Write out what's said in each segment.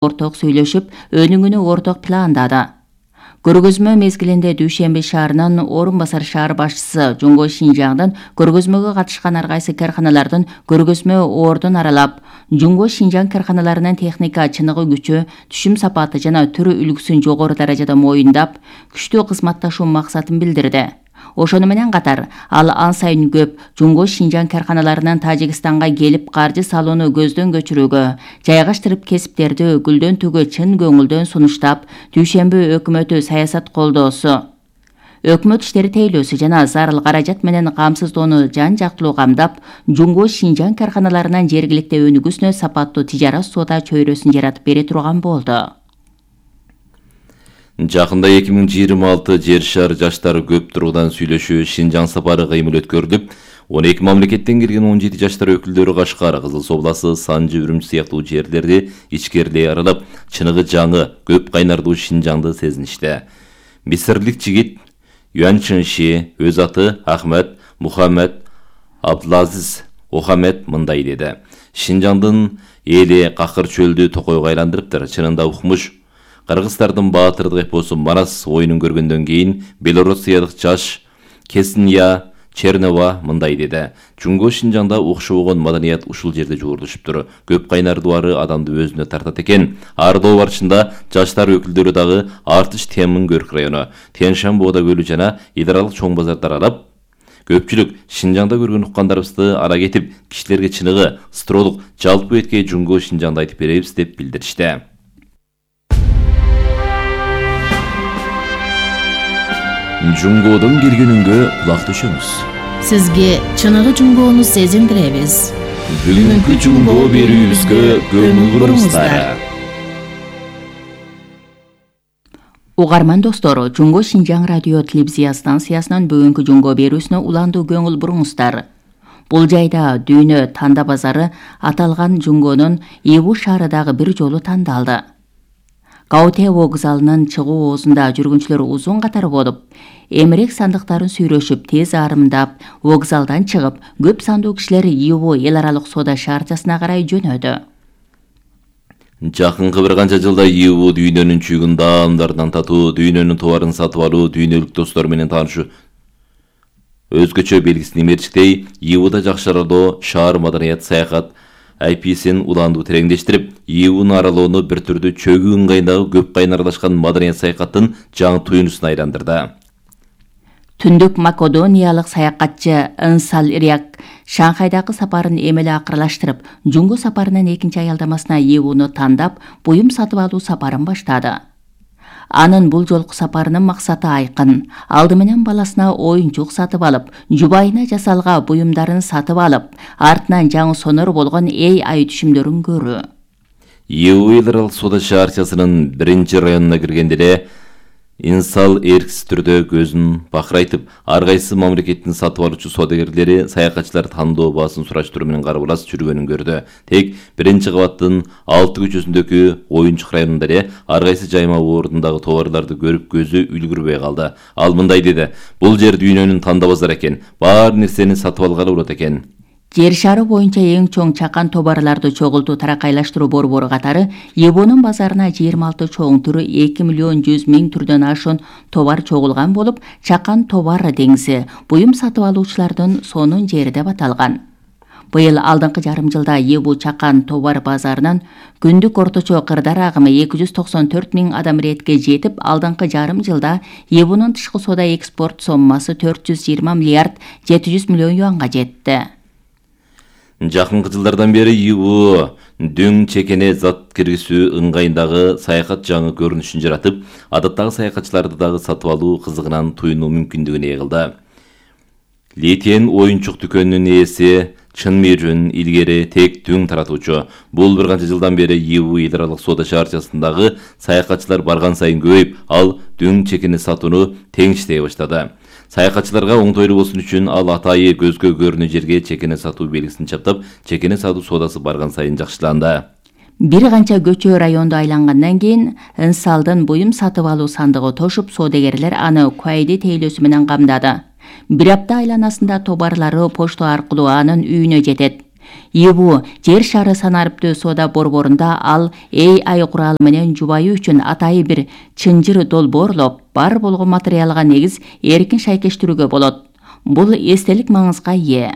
орток сүйлөшүп, өнүгүүнү орток пландады. Көргөзмө мезгилинде Дүйшөмбү шаарынын орун басар шаар башчысы Жумго Шинжаңдын көргөзмөгө катышкан ар кайсы карканалардын көргөзмө ордун аралап, Жумго Шинжаң карканаларынын техника чыныгы күчү, түшүм сапаты жана түрү үлгүсүн жогору даражада моюндап, күчтүү кызматташуу максатын билдирди. Ошону менен катар, ал ан сайын көп Жумго Шинжаң карканаларынын Тажикстанга келип каржы салууну көздөн көчүрүүгө, жайгаштырып кесиптерди гүлдөн түгө чын көңүлдөн сунуштап, Дүйшөмбү өкмөтү саясат колдоосу, өкмөт иштери тейлөөсү жана зарыл каражат менен камсыздоону жан-жактылуу камдап, Жумго Шинжаң карканаларынын жергиликти өнүгүүсүнө сапаттуу тижарат соода чөйрөсүн жаратып бере турган болду. Жакында 2026 жер шаар жаштары көп тургудан сүйлөшүү Шинжаң сапары кыймыл өткөрүлүп, 12 мамлекеттен келген 17 жаштар өкүлдөрү Кашкар, Кызыл Суу областы, Санжы, Үрүмчү сыяктуу жерлерди ичкерилей аралап, чыныгы жаңы, көп кайнардуу Шинжаңды сезиништи. Мисирлик жигит Юан Чынши, өз аты Ахмед Мухаммед Абдулазиз Охамед мындай деди. Шинжаңдын эли какыр чөлдү токойго айландырыптыр. Чынында укмуш кыргыздардын баатырдык эпосу Марас оюнун көргөндөн кийин Белоруссиялык жаш Кесния Чернова мындай деди. Жумго Шинжаңда окшобогон маданият ушул жерде жуурдушуптур. Көп кайнардуары адамды өзүнө тартат экен. Ардоо барышында жаштар өкүлдөрү дагы Артыш Темин Көрк району, Тянь-Шань Боода көлү жана Идаралык чоң базарды аралап, көпчүлүк Шинжаңда көргөн уккандарыбызды ара кетип, кишилерге чыныгы, стролук, жалпы эткей Жумго Шинжаңды айтып беребиз деп билдиришти. Жумгодон келгенүнгө кулак түшөмүз. Сизге чыныгы Жумгону сезиндиребиз. Бүгүнкү Жумго берүүбүзгө көңүл буруңуздар. Угарман достор, Жумго Шинжаң радио телевизия станциясынын бүгүнкү Жумго берүүсүнө уландуу көңүл буруңуздар. Бул жайда дүйнө танда базары аталган Жумгонун Ибу шаарындагы бир жолу тандалды. Кауте вокзалынын чыгуу оозунда жүргүнчүлөр узун катар болуп, эмерек сандыктарын сүйрөшүп, тез арымдап, вокзалдан чыгып, көп сандуу кишилер Ибу эл аралык соода шаарчасына карай жөнөдү. Жакынкы бир канча жылда Ибу дүйнөнүн чүйгүн даамдарынан татуу, дүйнөнүн товарын сатып алуу, дүйнөлүк достор менен таанышуу өзгөчө белгисин имертиктей, Ибуда жакшыртуу шаар маданият саякат IPS'ин уланду тереңдештирип, Ибуну аралоону бир түрдүү чөгүү ыңгайындагы көп кайнарлашкан маданият саякаттын жаңы туюнусуна айландырды. Түндүк македониялык саякатчы Ынсал Иряк Шанхайдагы сапарын эмеле акырлаштырып, Жумго сапарынын экинчи аялдамасына Ибуну тандап, буюм сатып алуу сапарын баштады. Анын бул жолку сапарынын максаты айкын. Алды менен баласына оюнчук сатып алып, жубайына жасалга буюмдарын сатып алып, артынан жаңы сонор болгон ай түшүмдөрүн көрүү. Ибу эл аралык соода шаарчасынын 1-районуна киргенде эле Инсал эрксиз түрдө көзүн бакырайтып, ар кайсы мамлекеттин сатып алуучу соодагерлери саякатчылар тандоо баасын сураштыруу менен карбалас жүргөнүн көрдү. Тек 1-кабаттын 6 көчөсүндөгү оюнчук районунда эле ар кайсы жайма ордундагы товарларды көрүп көзү үлгүрбөй калды. Ал мындай деди: "Бул жер дүйнөнүн танда базары экен. Баар нерсени сатып алгалы болот экен." Жер шары боюнча эң чоң чакан товарларды чогултуу таракайлаштыруу борбору катары Ибунун базарына 26 чоң түрү 2 миллион 100 миң түрдөн ашуун товар чогулган болуп, чакан товар деңизи буюм сатып алуучулардын сонун жери деп аталган. Быйыл алдыңкы жарым жылда Ибу чакан товар базарынын күндүк орточо кырдар агымы 294 миң адам иретке жетип, алдыңкы жарым жылда Ибунун тышкы соода экспорт соммасы 420 миллиард 700 миллион юанга жетти. Жакынкы жылдардан бери Ибу дөң чекене зат киргизүү ыңгайындагы саякат жаңы көрүнүшүн жаратып, адаттагы саякатчыларды дагы сатып алуу кызыгынан туюнуу мүмкүндүгүн ээ кылды. Летен оюнчук дүкөнүнүн ээси Чын Миржүн илгери тек дөң таратуучу. Бул бир канча жылдан бери Ибу эл аралык соода шаарчасындагы саякатчылар барган сайын көбөйүп, ал дөң чекени сатууну тең иштей баштады. Саякатчыларга оңтойлуу болсун үчүн ал атайы көзгө көрүнүү жерге чекене сатуу белгисин чаптап, чекене сатуу соодасы барган сайын жакшыланды. Бир канча көчө районду айлангандан кийин Ынсалдын буюм сатып алуу сандыгы тошуп, соодагерлер аны куайди тейлөөсү менен камдады. Бир апта айланасында товарлары почта аркылуу анын үйүнө жетет. ИБУ жер шары санариптүү соода борборунда ал AI куралы менен жубайы үчүн атайы бир чынжыр долбоорлоп, бар болгон материалга негиз эркин шайкештирүүгө болот. Бул эстелик маңызга ээ.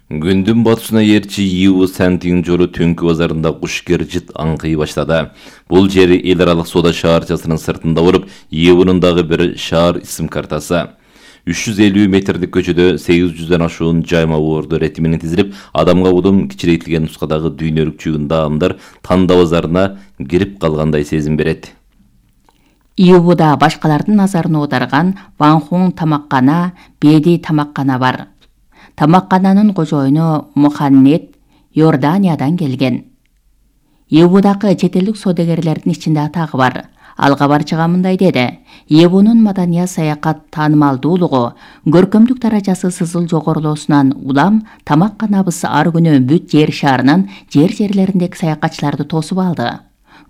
Күндүн батышына ээрчи ИБУ Сантин жолу түнкү базарында кушкер жыт аңкый баштады. Бул жер эл аралык соода шаарчасынын сыртында болуп, ИБУнун дагы бир шаар исим картасы. 350 метрлик көчөдө 800дөн ашуун жайма боорду рети менен тизилип, адамга удум кичирейтилген нускадагы дүйнөлүк чүйгүн даамдар Танда базарына кирип калгандай сезим берет. ИБУда башкалардын назарын аударган Ванхун тамаккана, Беди тамаккана бар. Тамаккананын кожоюну Муханнет Иорданиядан келген. ИБУдагы чет элдик соодагерлердин ичинде атагы бар. Ал кабарчыга мындай деди: ИБУнун маданият саякат таанымалдуулугу, көркөмдүк даражасы сызыл жогорулоосунан улам тамакканабыз ар күнү бүт жер шаарынан жерлериндеги саякатчыларды тосуп алды.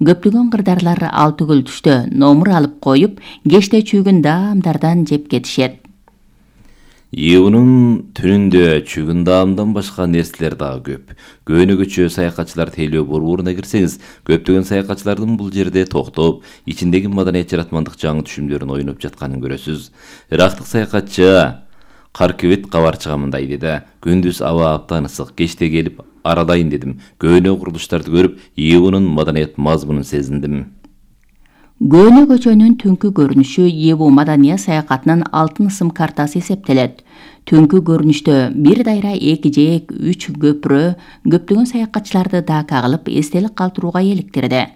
Көптөгөн кырдарлар ал түгүл түштө номур алып коюп, кечте чүйгүн даамдардан жеп кетишет. ИБУнун түнүндө чүйгүн даамдан башка нерселер дагы көп. Көөнөгөчө саякатчылар тейлөө борборуна кирсеңиз, көптөгөн саякатчылардын бул жерде токтоп, ичиндеги маданият жаратмандык жаңы түшүмдөрүн ойноп жатканын көрөсүз. Ирактык саякатчы Каркевит кабарчыга мындай деди: күндүз аба аптан ысык, кечте келип аралайын дедим. Көөнө курулуштарды көрүп, ИБУнун маданият мазмунун сезиндим. Көөнө көчөнүн түнкү көрүнүшү ИБУ маданият саякатынын алтын ысым картасы эсептелет. Түнкү көрүнүштө бир дайра эки жээк, 3 көпүрө көптөгөн саякатчыларды дака кылып эстелик калтырууга эликтирди.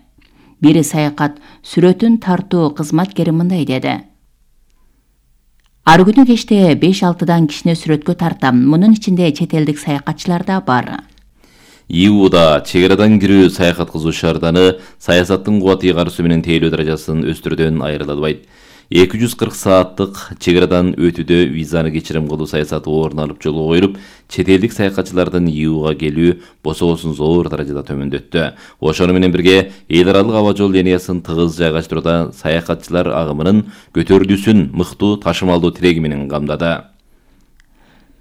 Бир саякат сүрөтүн тартуу кызматкери мындай деди: ар күнү кечте 5-6 кишини сүрөткө тартам. Мунун ичинде чет элдик саякатчылар да бар. ИБУда чек арадан кирүү саякат кылуу шаарданы саясаттын кубат ыйгарысы менен тейлөө даражасын өстүрүүдөн айырылбайт. 240 сааттык чек арадан өтүүдө визаны кечирим кылуу саясаты орун алып жолго коюлуп, чет элдик саякатчылардын ИБУга келүү бособосун зор даражада төмөндөттү. Ошону менен бирге эл аралык аба жол линиясын тыгыз жайгаштырууда саякатчылар агымынын көтөрүлүүсүн мыктуу ташымалдуу тиреги менен камдады.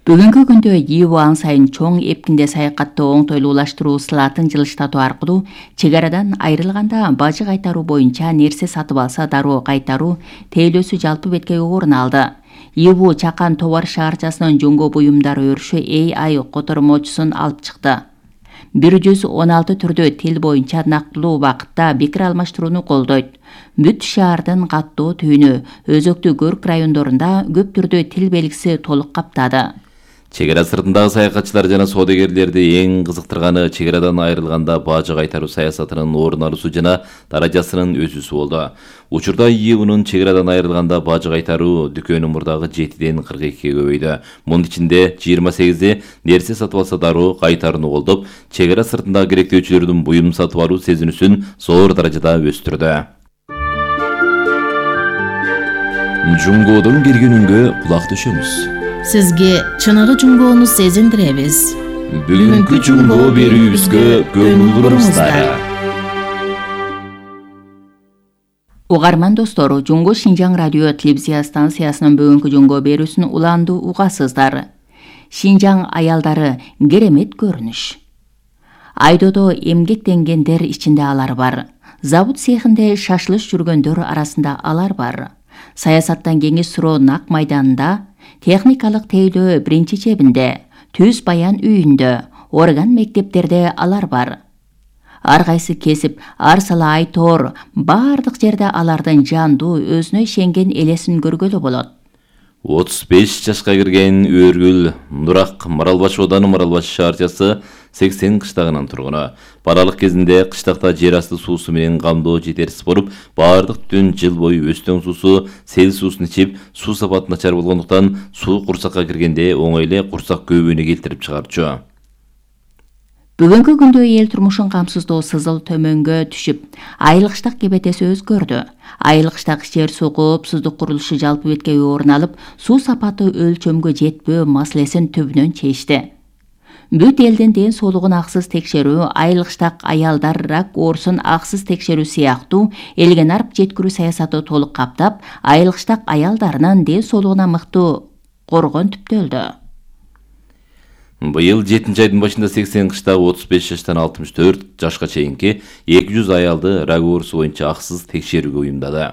Бүгүнкү күндө ИБУ ан сайын чоң эпкинде саякатты оңтойлуулаштыруу сылатын жылыштатуу аркылуу чек арадан айрылганда бажы кайтаруу боюнча нерсе сатып алса дароо кайтаруу тейлөөсү жалпы бетке орун алды. ИБУ Чакан товар шаарчасынын жоңго буюмдары өрүшү AI котормочусун алып чыкты. 116 түрдүү тил боюнча нактылуу убакытта пикир алмаштырууну колдойт. Бүт шаардын каттоо түйүнү, өзөктүү көрк райондорунда көп түрдүү тил белгиси толук каптады. Чек ара сыртындагы саякатчылар жана соодагерлерди эң кызыктырганы чек арадан айрылганда бажы кайтаруу саясатынын орун алуусу жана даражасынын өсүүсү болду. Учурда ИБУнун чек арадан айрылганда бажы кайтаруу дүкөнү мурдагы 7ден 42ге көбөйдү. Мунун ичинде 28и нерсе сатып алса дароо кайтарууну колдоп, чек ара сыртындагы керектөөчүлөрдүн буюм сатып алуу сезинүүсүн зор даражада өстүрдү. Жуңгоодон келген үнгө кулак төшөңүз. Сизге чыныгы жуңгоону сезиндиребиз. Бүгүнкү жуңгоо берүүбүзгө көңүл буруңуздар. Угарман достор, Жуңго Шинжаң радио телевизия станциясынын бүгүнкү жуңгоо берүүсүн уланды угасыздар. Шинжаң аялдары керемет көрүнүш. Айдодо эмгектенгендер ичинде алар бар. Завод цехинде шашлыш жүргөндөр арасында алар бар. Саясаттан кеңеш суроо нак майданында, техникалык тейлөө биринчи чебинде, түз баян үйүндө, орган мектептерде алар бар. Ар кайсы кесип, ар сала айтор, бардык жерде алардын жандуу, өзүнө ишенген элесин көргөлө болот. 35 жашка кирген Өргүл Нурак Маралбаш ооданы Маралбаш шаарчасы 80 кыштагынын тургуну. Балалык кезинде кыштакта жер асты суусу менен камдоо жетерсиз болуп, баардык түн жыл бою өстөң суусу, сел суусун ичип, суу сапаты начар болгондуктан суу курсакка киргенде оңой эле курсак көбүгүнү келтирип чыгарчу. Бүгүнкү күндө эл турмушун камсыздоо сызыл төмөнгө түшүп, айылгыштак кебетеси өзгөрдү. Айылгыштак жер суу коопсуздук курулушу жалпы бетке орун алып, суу сапаты өлчөмгө жетпөө маселесин түбүнөн чечти. Бүт элдин ден соолугун аксыз текшерүү, айылгыштак аялдар рак оорусун аксыз текшерүү сыяктуу элге нарп жеткирүү саясаты толук каптап, айылгыштак аялдарынын ден соолугуна мыктуу коргон түптөлдү. Быйыл 7-айдын башында 80 кышта 35 жаштан 64 жашка чейинки 200 аялды рак оорусу боюнча аксыз текшерүүгө уюмдады.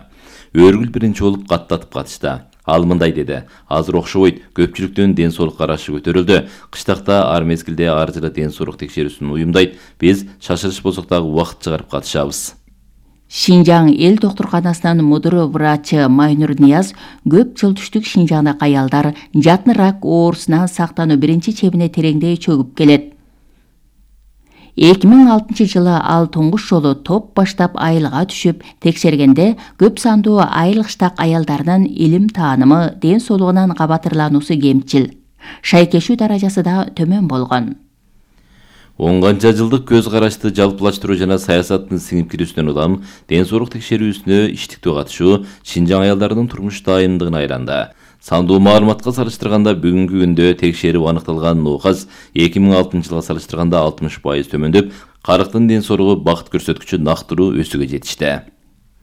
Өргүл биринчи болуп каттатып катышты. Ал мындай деди: азыр окшобойт, көпчүлүктүн ден соолук карашы көтөрүлдү. Кыштакта ар мезгилде ар жылы ден соолук текшерүүсүн уюмдайт. Биз шашырыш болсок дагы убакыт чыгарып катышабыз. Шинжаң эл доктурканасынын мудуру врачы Майнур Нияз көп жыл түштүк Шинжаңдагы аялдар жатын рак оорусунан сактануу биринчи чебине тереңдей чөгүп келет. 2006 жылы ал туңгуш жолу топ баштап айылга түшүп текшергенде көп сандуу айыл кыштак аялдарынын илим таанымы, ден соолугунан кабатырлануусу кемчил, шайкешүү даражасы да төмөн болгон. 10 канча жылдык көз карашты жалпылаштыруу жана саясаттын сиңип кирүүсүнөн улам ден соолук текшерүүсүнө иштиктүү катышуу Шинжаң аялдарынын турмуш дайындыгына айланды. Сандуу маалыматка салыштырганда бүгүнкү күндө текшерип аныкталган ооказ 2006 жылга салыштырганда 60% төмөндөп, карыктын ден соолугу бакыт көрсөткүчү нактыруу өсүүгө жетишти.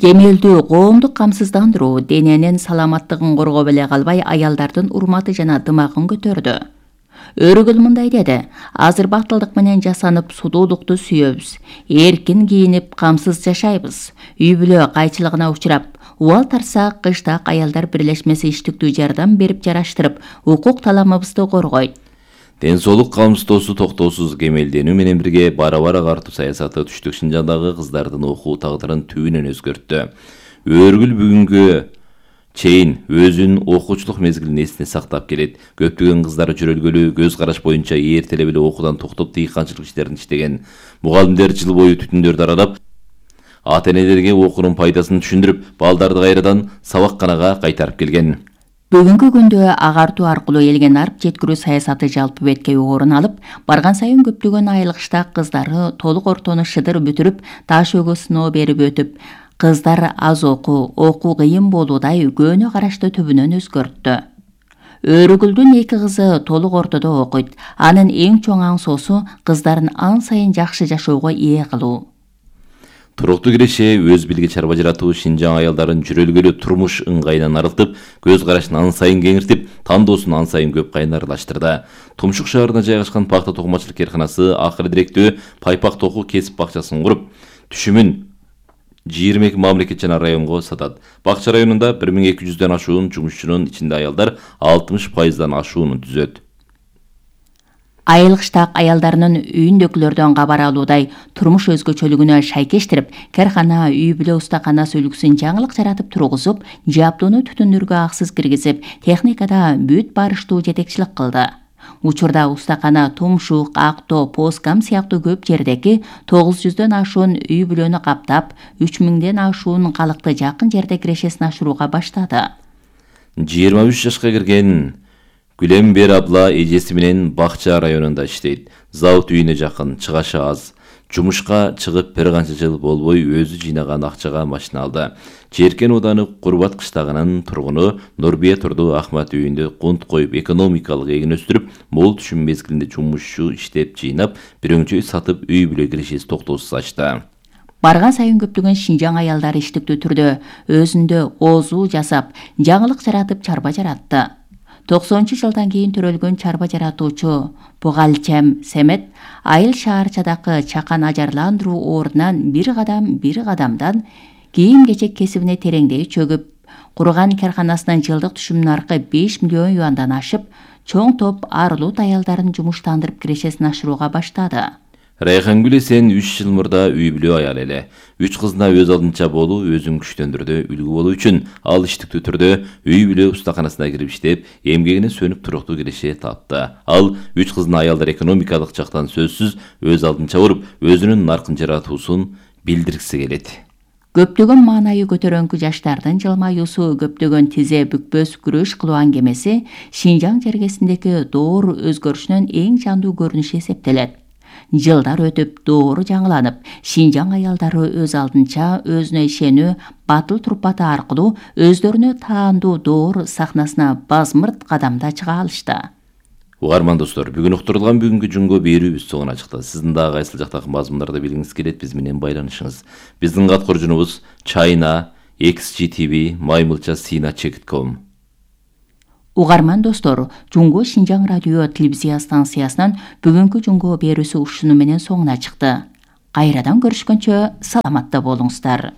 Кемелдүү коомдук камсыздандыруу дененин саламаттыгын коргоп эле калбай, аялдардын урматы жана дымагын көтөрдү. Өргүл мындай деди: азыр бактылдык менен жасанып судуулукту сүйөбүз, эркин кийинип, камсыз жашайбыз. Үй бүлө кайчылыгына учурап, убал тарсак кыштак аялдар бирлешмеси иштиктүү жардам берип жараштырып, укук таламыбызды коргойт. Ден соолук камсыздоосу токтоосуз кемелденүү менен бирге бара-бара агартуу саясаты түштүк Шинжаңдагы кыздардын окуу тагдырын түбүнөн өзгөрттү. Өргүл бүгүнгө чейин өзүнүн окуучулук мезгилин эсине сактап келет. Көптөгөн кыздар жөрөлгөлүү көз караш боюнча эртелеп эле окуудан токтоп дыйканчылык иштерин иштеген. Мугалимдер жыл бою түтүндөрдү аралап, ата-энелерге окуунун пайдасын түшүндүрүп, балдарды кайрадан сабакканага кайтарып келген. Бүгүнкү күндө агартуу аркылуу элге нарып жеткирүү саясаты жалпы беткей орун алып, барган сайын көптөгөн айыл кыштак кыздары толук ортону шыдыр бүтүрүп, таш өгө сыноо берип өтүп, кыздар аз окуу кыйын болуудай көөнө карашты түбүнөн өзгөрттү. Өргүлдүн 2 кызы толук ортодо окуйт. Анын эң чоң аңсоосу кыздарын ан сайын жакшы жашоого ээ кылуу. Туруктуу киреше өз билги чарба жаратуу Шинжаң аялдарын жүрөлгөлүү турмуш ыңгайынан арылтып, көз карашын ан сайын кеңиртип, тандоосун ан сайын көп кайнарлаштырды. Тумшук шаарына жайгашкан пахта токумачылык керканасы акыры директүү Пайпак току кесип бакчасын куруп, түшүмүн 22 мамлекет жана районго сатат. Бакча районунда 1200дөн ашуун жумушчунун ичинде аялдар 60%дан ашууну түзөт. Айыл кыштак аялдарынын үйүндөгүлөрдөн кабар алуудай турмуш өзгөчөлүгүнө шайкештирип, каркана, үй бүлө устаканасы үлгүсүн жаңылык жаратып тургузуп, жаптууну түтүндөргө аксыз киргизип, техникада бүт барыштуу жетекчилик кылды. Учурда устакана Тумшук, Актоо, Поскам сыяктуу көп жердеги 900дөн ашуун үй бүлөнү каптап, 3000ден ашуун калыкты жакын жерде кирешесин ашырууга баштады. 23 жашка кирген Гүлембер абла эжеси менен Бакча районунда иштейт. Завод үйүнө жакын, чыгашы аз. Жумушка чыгып бир канча жыл болбой өзү жыйнаган акчага машина алды. Черкен ооданы Курбат кыштагынын тургуну Нурбие Турду Ахмат үйүндө кунт коюп, экономикалык эгин өстүрүп, мол түшүм мезгилинде жумушчу иштеп жыйнап, бирөөчөй сатып үй бүлө кирешеси токтоосуз ачты. Барган сайын көптөгөн Шинжаң аялдары иштиктүү түрдө өзүндө оозуу жасап, жаңылык жаратып чарба жаратты. 90-жылдан кийин төрөлгөн чарба жаратуучу Бугалчем Семет айыл шаарчадагы чакан ажарландыруу ордунан бир кадамдан кийим-кечек кесибине тереңдей чөгүп, курган карканасынын жылдык түшүмүнүн аркы 5 миллион юандан ашып, чоң топ арылут аялдарын жумуштандырып кирешесин ашырууга баштады. Райхангүл Эсен 3 жыл мурда үй бүлө аял эле. 3 кызына өз алдынча болуу, өзүн күчтөндүрдү, үлгү болуу үчүн ал иштиктүү түрдө үй бүлө устаканасына кирип иштеп, эмгегине сөнүп туруктуу киреше тапты. Ал 3 кызын аялдар экономикалык жактан сөзсүз өз алдынча уруп, өзүнүн наркын жаратуусун билдиргиси келет. Көптөгөн маанайы көтөрөңкү жаштардын жылмаюусу, көптөгөн тизе бүкпөс күрөш кылуу аңгемеси Шинжаң жергесиндеги доор өзгөрүшүнүн эң жандуу көрүнүшү эсептелет. Жылдар өтүп, доору жаңыланып, Шинжаң аялдары өз алдынча өзүнө ишенүү, батыл турпаты аркылуу өздөрүнө таандуу доор сахнасына базмырт кадамда чыга алышты. Угарман достор, бүгүн уктурулган бүгүнкү жунго берүүбүз соңуна чыкты. Сиздин дагы кайсыл жактагы мазмундарды билгиңиз келет, биз менен байланышыңыз. Биздин каткоржунубуз China XGTV Maymulcha Sina Chekit.com. Угарман достор, Жунго Шинжаң радио телевизия станциясынан бүгүнкү Жунго берүүсү ушуну менен соңуна чыкты. Кайрадан көрүшкөнчө саламатта болуңуздар.